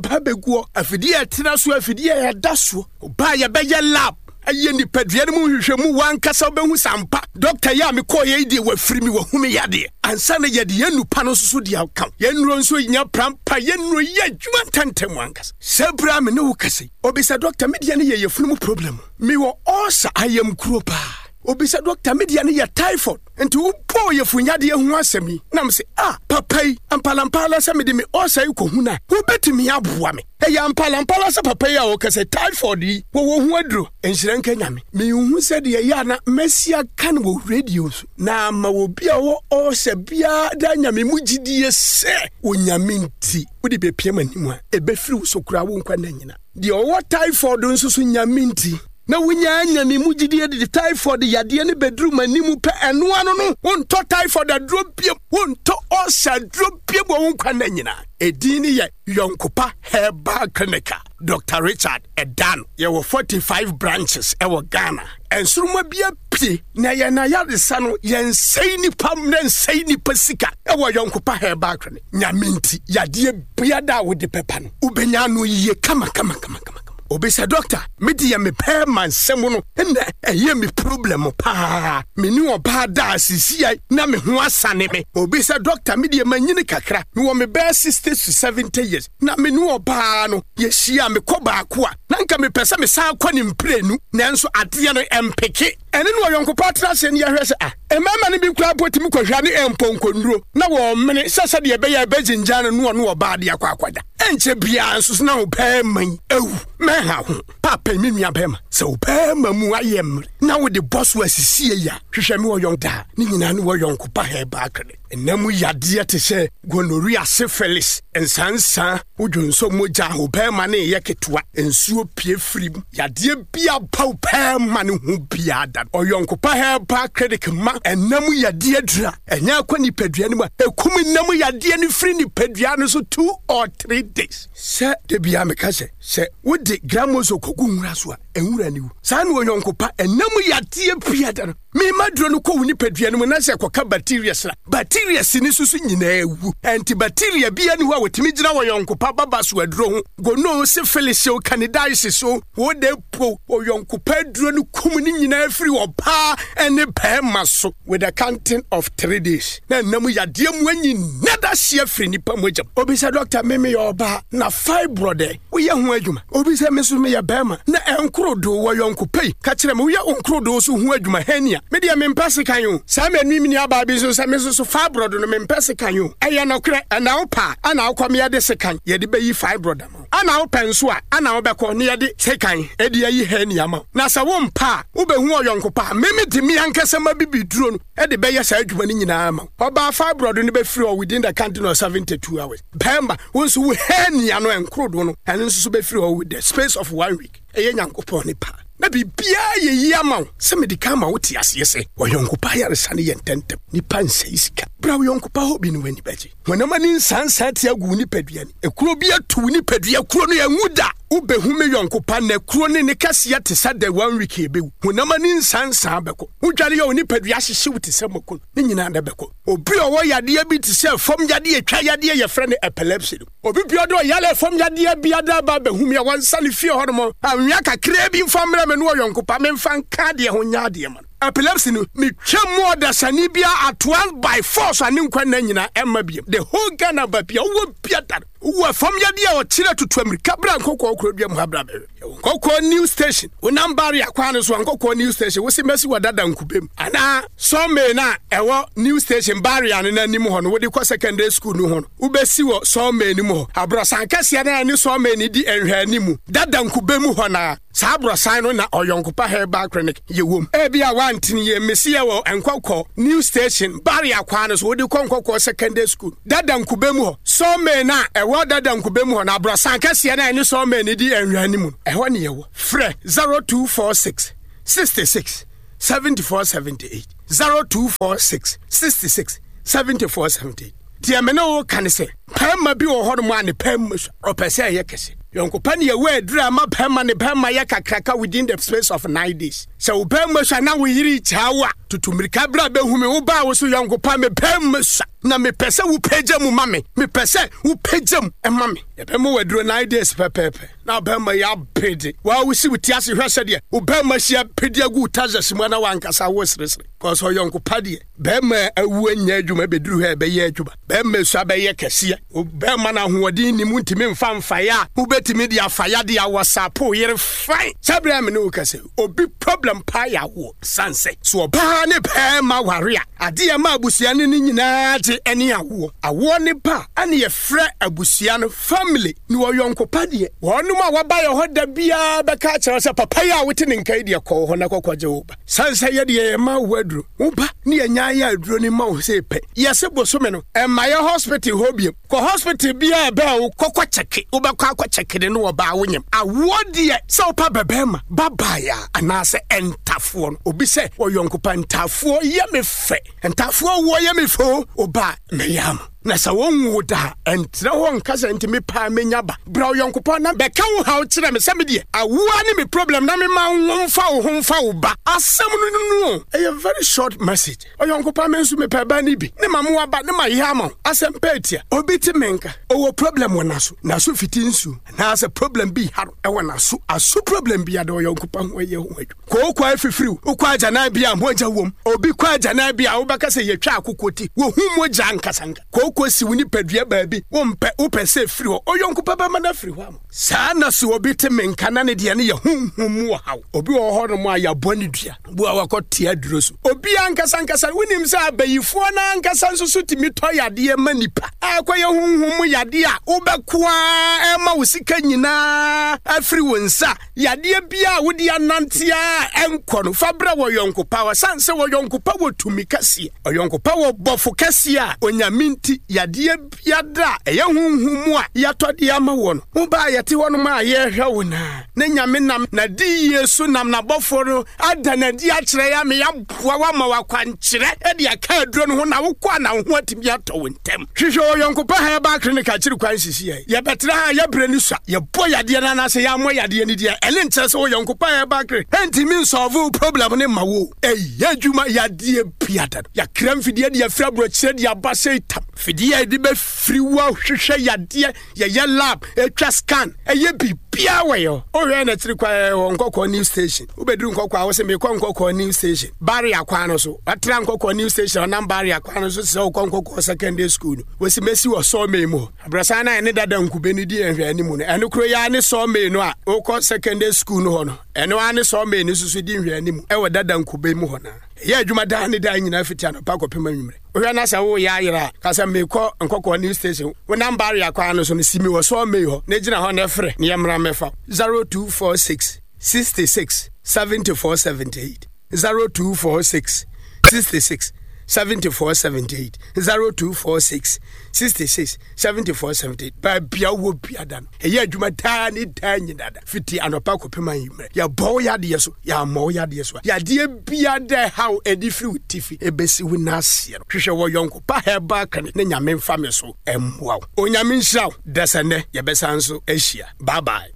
ba bɛguɔ. Afidie a ɛtena so, afidie a ɛda soɔ. Ɔbaa yɛbɛyɛ lab ayɛ nipadua no mu nhwehwɛmu wankasa wobɛhu sɛ ampa dɔkta yi a mekɔɔyɛ yi deɛ wafiri me wahu me yadeɛ ansa na yɛde yɛn nnupa no nso so de aka yɛn nnuro nso nya prampa yɛn nnuro yɛ adwuma ntɛntɛm ankasa sɛ berɛ a me ne wo kasa yi obi sɛ dɔkta me deɛ no yɛ yɛfunu mu problem mewɔ ɔɔsa ayamkuro paa obi sɛ dɔkta me deɛ no yɛ typhoid Nti wobɔɔ yafunyadeɛ ho asɛm yi, na mese, Ah, papa yi, ampalampala sɛ mede me ɔɔsa yi kɔhu no a, wobɛtumi aboa me. Ɛyɛ ampalampala sɛ papa yi a ɔka sɛ typhoid yi, wɔwɔ ho aduro. Nhyira nka Nyame. Menhu sɛdeɛ ɛyɛ a na masi aka no wɔ radio so, na ama obi a ɔwɔ ɔɔsa biara de anya me mu gyidie sɛ, Onyame nti, wode bɛpia m'anim a, ɛbɛfiri wo so koraa wo nkwa nna nyina. Deɛ ɔwɔ typhoid nso so, Nyame nti, na wonya anya me mu gyidie de typhoid yadeɛ no bɛduru m'anim pɛ, ɛno ano no, wontɔ typhoid aduro biom, wontɔ ulcer aduro biom wɔ wo nkwa nna nyinaa. Edin no yɛ Yɔnkopa Herbal Clinic a Dr. Richard Ɛdan. Yɛwɔ 45 branches ɛwɔ Ghana. Nsoromma bi apue na yɛn ayaresa no yɛnsɛe nipa mmerɛ nsɛe nipa sika ɛwɔ Yɔnkopa Herbal Clinic. Nyame nti yadeɛ biara a wode bɛba no wobɛnya ano yie kama kama kama kama. Obi sɛ doctor me deɛ me pɛ ma nsɛm no na ɛyɛ me problem paa me ne ɔbaa da asisia na me ho asane me. Obi sɛ doctor me deɛ manyini kakra mewɔ me bɛɛ 60 to 70 years na me ne ɔbaa no yɛhyia mekɔ baako a na nka mepɛ sɛ mesan kɔ ne mprenu nanso adeɛ no ɛmpeke. Ɛne no ɔyɔnkopa atra ase ne yɛhwɛ sɛ ah mmarima no bi koraa mpo tumi kɔhwɛ ne mpɔnkɔnnuro na wɔmene sɛ sɛdeɛ ɛbɛyɛ a ɛbɛgyingyan no ne ɔne ɔbaa de akɔ akɔda. Ɛnkyɛ biara nso so na wo barima yi awu. Mɛnha ho. Paapa yi, me nua barima, sɛ wo barima mu ayɛ mmerɛ na wode bɔ so asisie yi a, hwehwɛ me wɔ yɔn daa. Ne nyinaa ne wɔ yɔnko pa herbal clinic. Nna mu yadeɛ te sɛ gonorrhea, syphilis, nsansa, wodwonsɔ mogya, wo barima no reyɛ ketewa, nsuo pue firi mu, yadeɛ bi aba wo barima no ho biara da no, ɔyɔnko pa herbal clinic ma nna mu yadeɛ dura. Ɛnyɛ akɔ nipadua no mu a, ɛkum nna mu yadeɛ no firi nipadua no so 2 or 3 days. Sɛ da biara meka sɛ, sɛ wode gramoso kɔgu nwura so a, nwura no wu. Saa na ɔyɔnko pa nna mu yadeɛ biara no, mema duro no kɔ wo nipadua no mu na sɛ ɛkɔka bacteria sra, bacteria si ne so so nyinaa wu. Ɛnti bacteria biara ni hɔ a wɔtumi gyina wɔ yɔnko pa baba so aduro ho. Gono, syphilis o, candidiasis o, wo de po ɔyɔnko pa aduro no kum ne nyinaa firi ɔbaa ne bɛrima so with a counting of 3 days na ɛnam yadeɛ mu anyi nada hyeɛ firi nipa mogya mu. Obi sɛ dɔkta, me meyɛ ɔbaa na fibroid ɛ, woyɛ ho adwuma? Obi sɛ me nso meyɛ bɛrima na ɛnkorodo wɔ yɔnko pɛi ka kyerɛ me, woyɛ nkorodo so ho adwuma? Hernia me deɛ mempɛ sekan o. Saa manu me nuabaa bi nso sɛ me nso so fibroid no mempɛ sekan o. Ɛyɛ nɔkorɛ ɛna wopɛ a ana wokɔ me yɛde sekan yɛde bɛyi fibroid ama wo, ana wopɛ nso a ana wobɛkɔ ne yɛde sekan ɛde ayi hernia ama wo. Na sɛ wompɛ a wobɛhu ɔyɔnko pa a meme de me ankasa ma bibiduro no ɛde bɛyɛ saa adwuma no nyinaa ama wo. Ɔbaa, fibroid no bɛfiri hɔ within the counting of 72 hours. Bɛrima, wo nso wo hernia no ɛnkorodo no ɛno nso so bɛfiri hɔ with the space of one week. Ɛyɛ Nyankopɔn ne pa na biribiara yɛ yie ama wo. Sɛ mede ka ma wote aseɛ sɛ ɔyɔnko pa ayaresa no yɛ ntɛntɛm. Nipa nsɛe sika. Bra wo yɔnko pa hɔ bi no w'ani bɛgye. Honam ani nsansan te agu wo nipadua ni. Ekuro bi atu wo nipadua kuro no ɛnwu da. Wobɛhu me yɔnko pa na kuro ne ne kɛseɛ te sɛ dɛ one week ɛbɛwu. Honam ani nsansan bɛkɔ. Wodware yɛ wo nipadua hyehye wo te sɛ mako no, ne nyinaa na ɛbɛkɔ. Obi a ɔwɔ yadeɛ bi te sɛ fam yadeɛ, twa yadeɛ yɛfrɛ no epilepsy no. Obi bia ɔde ɔyare fam yadeɛ bi ada ba bɛhu me a, wɔnsa ne fie hɔ nom anwea kakraa bi mfa mmerɛ me no ɔyɔnko pa memfa nka adeɛ ho nyɛ adeɛ ma no. Epilepsy no, metwa mu ɔdasani bia at once by force a ne nkwa nna nyinaa ɛmma biam. The whole Ghana baabi a wowɔ bia da no, wowɔ fam yadeɛ a ɔkyerɛ tutu amirika bra Nkɔkɔɔ kurodua mu ha bra bɛhwɛ. Yɛwɔ Nkɔkɔɔ new station. Wonam barrier kwan no so a, Nkɔkɔɔ new station, wose mɛsi wɔ dada nkubem anaa sawmill no a ɛwɔ new station barrier no n'anim hɔ no, wode kɔ secondary school no ho no, wobɛsi wɔ sawmill no mu hɔ. Aborɔsan kɛseɛ no a ɛne sawmill no di nhwɛanimu dada nkube mu hɔ no ara, saa aborɔsan no na Ɔyɔnkopa Herbal Clinic yɛwom. Ebia woantene yie, mese yɛwɔ Nkɔkɔɔ new station barrier kwan no so, wode kɔ Nkɔkɔɔ secondary school dada nkube mu hɔ, sawmill no a ɛwɔ dada nkube mu hɔ no, aborɔsan kɛseɛ no a ɛne sawmill no di nhwɛanimu no, ɛhɔ ne yɛwɔ. Frɛ 0246 66 74 78, 0246 66 74 78. Deɛ me ne wo ka ne sɛ, pɛɛma bi wɔ hɔnom a ne pɛɛma su ɔpɛ sɛ ɛyɛ kɛse. Yɔnkopa ne yɛwɔ aduru a ɛma bɛrima ne bɛrima yɛ kakraka within the space of 9 days. Sɛ wo bɛrima sua na wo yere gyaa wo a, tutu mmirika bra bɛhu me. Wo baa wo so yɔnkopa me bɛrima sua na mepɛ sɛ wopagya mu ma me. Mepɛ sɛ wopagya mu ma me. Yɛbɛma wo aduro 9 days pɛpɛɛpɛ na bɛrima yɛ abede. Waa wosi wo ti ase hwɛ sɛdeɛ wo bɛrima si abede agu wo tazas mu na wankasa wo seresere. Kɔsɔ yɔnkopa deɛ bɛrima awu anya adwuma bɛduru hɔ a ɛbɛyɛ adwuma. Bɛrima sua bɛyɛ kɛseɛ. Bɛrima no ahoɔden nim ntumi mfa mfaeɛ a wobɛtumi de afaeɛ de awɔsapo yere fae. Sɛ berɛ a me ne wo kasa yi, obi problem paa yɛ awoɔ. Sane sɛ so ɔbaa ne bɛrima ware a, adeɛ ma abusua no ne nyinaa gye ne awoɔ. Awoɔ ne ba a ɛne yɛfrɛ abusua no family. Ne ɔyɔnkopa deɛ, wɔnom a wɔba yɛ hɔ da biara bɛka akyerɛ sɛ papa yi a wote ne nka yi deɛ kɔ hɔ na kɔkɔgye wo ba. Sane sɛ yɛdeɛ yɛma wo aduro, wo ba ne yɛnya yɛ aduro no ma wo sɛ pɛ. Yɛse bosome no, ɛmma yɛ hospital hɔ biom. Kɔ hospital biara ɛbɛn wo kɔkɔ kyɛke, wobɛkɔ akɔ kyɛke ne no ɔbaa wo nyem. Awoɔ deɛ sɛ wopa bɛbɛɛma, babae a anaasɛ ɛntafoɔ no, obi sɛ ɔyɔnkopa ntafoɔ yɛ me fɛ, ntafoɔ woɔ yɛ me fɛ o, ɔbaa mɛyɛ ama. Na sɛ wɔnwo da a, ɛntena hɔ nka sɛ nti me paa menya ba. Bra ɔyɔnkopa na bɛka wo haw kyerɛ me sɛ me deɛ awoɔ ne me problem na mema wo mfa wo ho mfa wo ba. Asɛm no no o, ɛyɛ very short message. Ɔyɔnkopa me nso mepɛ ba no bi ne ma mo aba ne ma yɛ ama wo. Asɛm pɛ atia. Obi te me nka, ɔwɔ problem wɔ n'aso, n'aso fiti nsuo anaasɛ problem bi ha no ɛwɔ n'aso, aso problem bi ada ɔyɔnkopa ho ɛyɛ ho adwuma. Kooko afifiriw, wokɔ agyanan bi a mogya wom. Obi kɔ agyanan bi a wobɛka sɛ yɛtwa akokɔ ti, wohu mogya ankasanka. Kooko si wo nipadua baabi, wompɛ, wopɛ sɛ ɛfiri hɔ. Ɔyɔnko pa bɛma no afiri hɔ ama. Saa na sɛ obi te me nka na ne deɛ no yɛ honhom mu ɔhaw. Obi wɔ hɔ nom a yɛabɔ ne dua, bu a wakɔ te aduro so. Obi ankasa ankasa, wonim sɛ abayifoɔ no ankasa nso so tumi tɔ yadeɛ ma nipa. Akɔyɛ honhom mu yadeɛ a wobɛko ara ɛma wo sika nyinaa afiri wo nsa. Yadeɛ biara a wode anante a ɛnkɔ no, fa brɛ wɔ yɔnko pa. Ɔsan sɛ wɔ yɔnko pa wɔ tumi kɛseɛ. Ɔyɔnko pa wɔ bɔfo kɛseɛ a Onyame nti yadeɛ biara a ɛyɛ honhom mu a yɛatɔ de ama wɔ no, wo ba a yɛte hɔnom a yɛrehwɛ wo no a, na Nyame nam n'adiyie so nam n'abɔfoɔ no ada no adi akyerɛ yɛn ama yɛaboa wo ama wo akwankyerɛ de aka aduro no ho na wokɔ a na wo ho atumi atɔ wo ntɛm. Hwehwɛ Ɔyɔnko Pa Herbal Clinic akyiri kwan sisi yɛn. Yɛbɛtena ha a yɛbrɛ no sua. Yɛbɔ yadeɛ no anaasɛ yɛammɔ yadeɛ no din a, ɛno nkyerɛ sɛ Ɔyɔnko Pa Herbal Clinic ntumi nsɔlve wo problem no mma wo. Ɛyɛ adwuma yadeɛ biada no. Yɛakra mfidie de afiri aborɔkyerɛ de aba sei tam. Fidie a yɛde bɛfiri wo ahwehwɛ yadeɛ, yɛyɛ lab, ɛtwa scan, ɛyɛ biribiara wɔ yɛ hɔ. Wohwɛ yɛn akyiri kwan yɛwɔ Nkɔkɔɔ New Station. Wobɛduru Nkɔkɔɔ a wo se mekɔ Nkɔkɔɔ New Station. Barrier kwan no so. Watra Nkɔkɔɔ New Station ɔnam barrier kwan no so sɛ wokɔ Nkɔkɔɔ Secondary School no. Wɔsi mɛsi wɔ sawmill mu hɔ. Abrɔsan no a ɛne dada nkube no di nhwɛ anim no, ɛno koro yi ara ne sawmill no a wokɔ secondary school no hɔ no, ɛno ara ne sawmill no nso so di nhwɛ anim wɔ dada nkube mu hɔ no. Ɛyɛ adwuma daa ne daa nyinaa fiti anɔpa kɔpem anwummerɛ. Wohwɛ na sɛ woyɛ ayera a, ka sɛ mekɔ Nkɔkɔɔ New Station. Wonam barrier kwan no so no, si me wɔ sawmill hɔ na gyina hɔ na frɛ na yɛmmra mmɛfa wo. 0246 66 74 78. 0246 66 74 78 0246 66 74 78 baabi a wowɔ biada no ɛyɛ adwuma daa ne daa nyina da fiti anɔpa kɔpem anwummerɛ yɛbɔ wo yadeɛ so yɛammɔ wo yadeɛ so a yadeɛ biada ɛhaw ɛde firi wo tifi ɛbɛsi wo n'aseɛ no hwehwɛ wɔ yɔnko pa herbal clinic ne Nyame mfa me so ɛmmoa wo. Onyame nhyira wo dasɛ nnɛ yɛbɛsan so ahyia. Bye bye.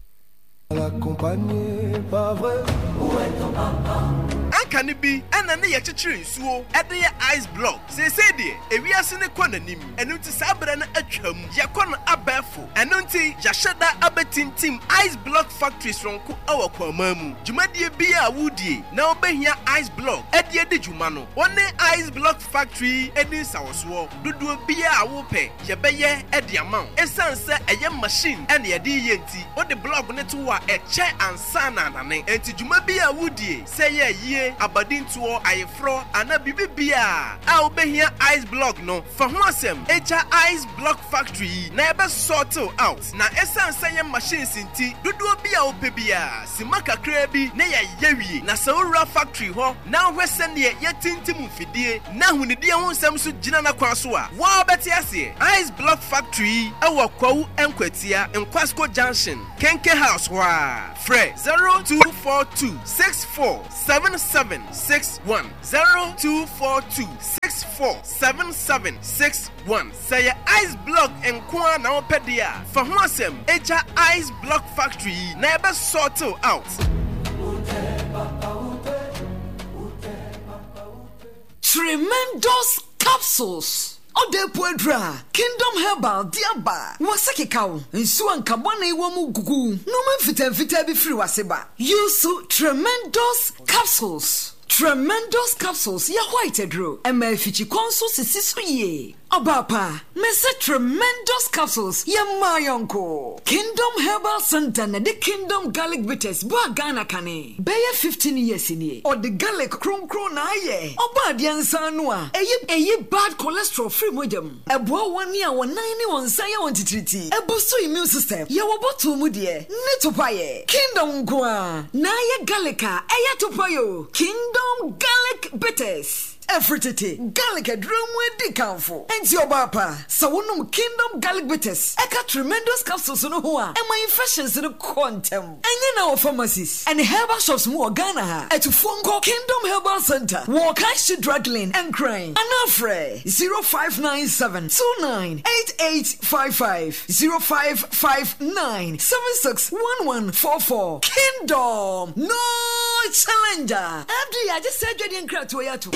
Anka no bi na ne yɛkyekyere nsuo de yɛ ice block. Seesei deɛ, ewiase no kɔ n'anim, ɛno nti saa berɛ no atwam. Yɛkɔ no abɛɛfo. Ɛno nti yɛahyɛ da abɛtintim ice block factory soronko wɔ Kwaman mu. Dwumadie biara a woredie na wobɛhia ice block de adi dwuma no, wo ne ice block factory yi nni nsawɔsoɔ. Dodoɔ biara a wopɛ, yɛbɛyɛ de ama wo. Esiane sɛ ɛyɛ machine na yɛde reyɛ nti, wode blɔg no to hɔ a, ɛkyɛ ansa na anane. Enti dwuma biara a wodie, sɛ ɛyɛ ayie, abadintoɔ, ayeforɔ, anaa biribi biara a wobɛhia ice blɔg no, fa ho asɛm gya Ice Block Factory yi na yɛbɛ sort wo out. Na esiane sɛ ɛyɛ machines nti, dodoɔ bi a wopɛ biara, simma kakraa bi na yɛayɛ wie. Na sɛ wowura factory hɔ na wohwɛ sɛdeɛ yɛtintim mfidie na ahonidie ho nsɛm nso gyina n'akwan so a, wo ara bɛte aseɛ. Ice Block Factory yi wɔ Kwawu Nkwatia, Nkwasko Junction, Kenke House hɔ ara. Frɛ 0242 64 77 61, 0242 64. 64 77 61. Sɛ ɛyɛ ice block nko ara na wopɛ deɛ a, fa ho asɛm gya Ice Block Factory yi na yɛbɛ sort wo out. Tremendous capsules, Ɔda epu aduru a Kingdom Herbal de aba. W'ase keka wo, nsuo a nka bɔne wɔ mu gugu wo, nnoɔma mfitaa mfitaa bi firi w'ase ba. Use Tremendous capsules. Tremendous capsules yɛ white aduro, ɛma afikyikɔ nso sisi so yie. Ɔbaa pa, mese Tremendous capsules yɛ mmaa yɔnko. Kingdom Herbal Centre na ɛde Kingdom Garlic Bitters baa Ghana kane bɛyɛ 15 years nie. Ɔde garlic kronkron na ayɛ. Ɔbɔ adeɛ nsa ano a, ɛyi ɛyi bad cholesterol firi mogya mu. Ɛboa wɔn a wɔn nan ne wɔn nsa yɛ wɔn titiritii. Ɛbustu immune system. Yɛwɔ bottle mu deɛ ne topaeɛ. Kingdom nko ara na ayɛ garlic a ɛyɛ topaeɛ o. Kingdom Garlic Bitters. Ɛfiri tete, garlic aduro mu adi kamfo. Enti ɔbaa pa, sɛ wonom Kingdom Garlic Bitters ɛka Tremendous Capsules no ho a, ɛma infections no kɔ ntɛm. Ɛnyɛ na wɔ pharmacies ɛne herbal shops mu wɔ Ghana ha. Atufoɔ nkɔ Kingdom Herbal Centre wɔ Okaishie Drug Lane, Nkran, anaa frɛ 0597 29 8855, 0559 76 1144. Kingdom, no challenger! FDA agye saa adwadie nkratoɔ yi atom.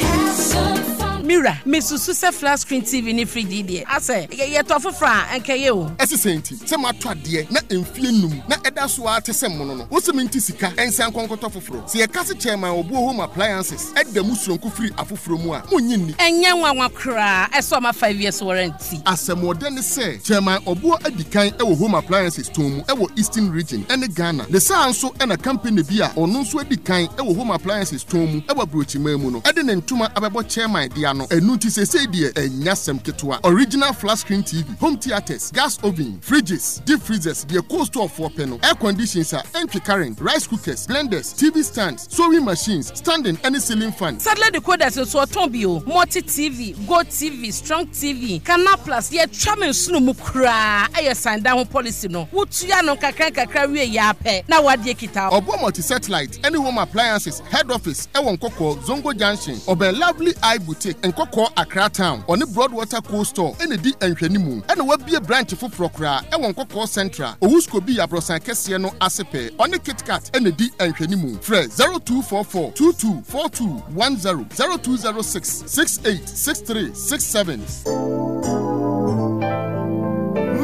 Me wura, mesusu sɛ flat screen TV ne fridge yi deɛ, asɛ yɛtɔ foforɔ a, anka ɛyɛ o. Ɛse sɛn nti sɛ matɔ adeɛ na mfie num na ɛda so ara te sɛ mono no, wose mente sika nsan nkɔ nkɔtɔ foforɔ? Sɛ yɛka se Chairman Obuo Home Appliances da mu soronko firi afoforɔ mu a, monnye nni. Ɛnyɛ nwanwa koraa ɛsɛ ɔma 5 years warranty. Asɛmɔdɛ ne sɛ Chairman Obuo adi kan wɔ Home Appliances tɔn mu wɔ Eastern Region ne Ghana. Ne saa nso na company bi a ɔno nso adi kan wɔ Home Appliances tɔn mu wɔ aburokyiman mu no de ne ntoma abɛbɔ Chairman de ano. Ɛno nti seesei deɛ ɛnyɛ asɛm ketewa. Original flat screen TV, home theatres, gas oven, fridges, deep freezers, deɛ cold store foɔ pɛ no, air conditions a ɛntwe current, rice cookers, blenders, TV stands, sewing machines, standing ne ceiling fan. Satellite decoders nso ɔtɔn bi o, Multi TV, Go TV, Strong TV, Canal Plus, yɛtwa me nsono mu koraa, ɛyɛ san dan ho policy no, wotua no nkakra nkakra wie yɛ ara pɛ na w'adeɛ kita wo. Ɔboɔ Multi Satellite ne Home Appliances head office wɔ Nkɔkɔɔ, Zongo Junction, ɔbɛn Lovely Eye Boutique, Nkɔkɔɔ, Accra Town. Ɔne Broadwater Cold Store na ɛdi nhwɛnimu. Ɛna wabue branch foforɔ koraa wɔ Nkɔkɔɔ Central, Owuskobi abrɔsan kɛseɛ no ase pɛɛ. Ɔne KitKat na ɛdi nhwɛnimu. Frɛ 0244 22 42 10, 0206 68 63 67.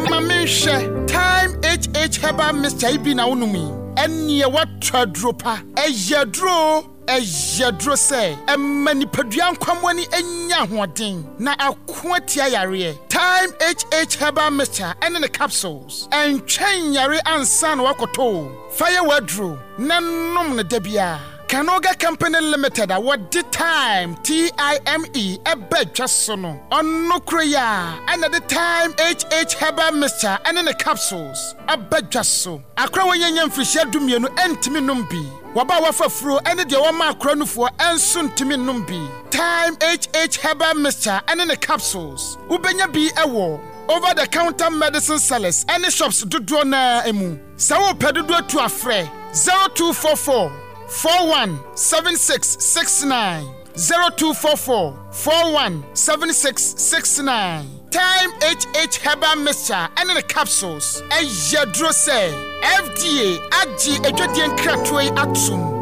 Ma menhwɛ, Thyme HH Herbal Mixture yi bi na wonom yi? Ɛnneɛ woatɔ aduro pa. Ɛyɛ aduro o, ɛyɛ aduro sɛ ɛma nipadua nkwammoa no nya ahoɔden na ako atia yareɛ. Thyme HH Herbal Mixture ne ne capsules, ɛntwɛn nyare ansa na woakɔtɔ o. Fa yɛ w'aduro na nom no da biara. Canoga Company Limited a wɔde Thyme, T-I-M-E, ba dwa so no, ɔno koro yi ara na ɛde Thyme HH Herbal Mixture ne ne capsules aba dwa so. Akora a wɔanya mfirihyia dumienu ntumi nnom bi. Wɔba a wɔafa afuro ne deɛ wɔma akora nufoɔ nso ntumi nnom bi. Thyme HH Herbal Mixture ne ne capsules, wobɛnya bi wɔ over the counter medicine sellers ne shops dodoɔ no ara mu. Sɛ wopɛ dodoɔ tu a frɛ 0244 41 76 69, 0244 41 76 69. Thyme HH Herbal Mixture ne ne capsules yɛ aduro sɛ FDA agye adwadie nkratoɔ yi atom.